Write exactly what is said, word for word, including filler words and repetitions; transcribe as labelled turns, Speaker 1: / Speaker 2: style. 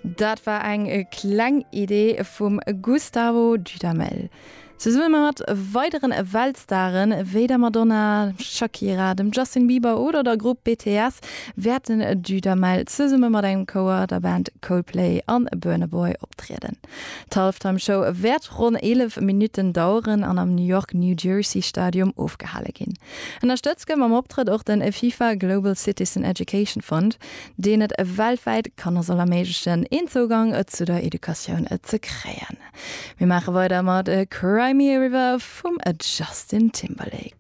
Speaker 1: Dat war eng kleng Idee vum Gustavo Dudamel. Zesumme mat weideren Weltstaren wéi der Madonna, Shakira, dem Justin Bieber oder der Grupp B T S wäert den Dudamel zesumme mat engem Chouer, der Band Coldplay an Burna Boy optrieden. D'Halftime Show wäert ronn eelef Minutten daueren an am New York New Jersey Stadium ofgehale ginn. Ënnerstëtzt gëtt mam Optrëtt och den FIFA Global Citizen Education Fund, deen et weltwäit Kanner soll erméiglechen, een Zougang zu der Educatioun ze kréien. Mir maache weider mat Cry Me a River vum Justin Timberlake.